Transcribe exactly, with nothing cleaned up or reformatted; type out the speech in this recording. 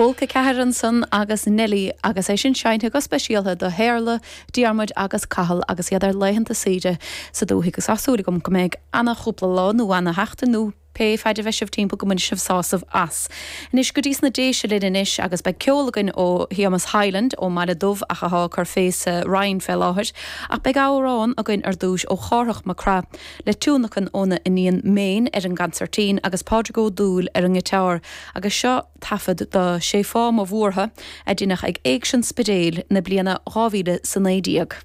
Pólca ceathair ansan agus Nelly agus é sin seinnte go speisialta do Shéarla, Diarmuid agus Cathal agus iad ar laethanta saoire sa dúthaigh agus tá súil agam go mbeidh ana-chúpla lá nó ana-sheachtain nó pé fad a bheidh sibh timpeall go mbainfidh sibh sásamh as. Anois go dtí sna Déise linn anois agus beidh ceol againn ó Shéamus Hyland ón mBaile Dubh ach atá ag cur fé sa Rinn fé láthair, ach beidh amhrán againn ar dtús ó Chárthach Mac Craith le tionlacan óna iníon Méin ar an gconsairtín agus Pádraig Ó Dúill ar an ngiotár agus seo taifead de Sé Fáth Mo Bhuartha a deineadh ag Éigse an Spidéil na bliana dhá mhíle is a naoi déag.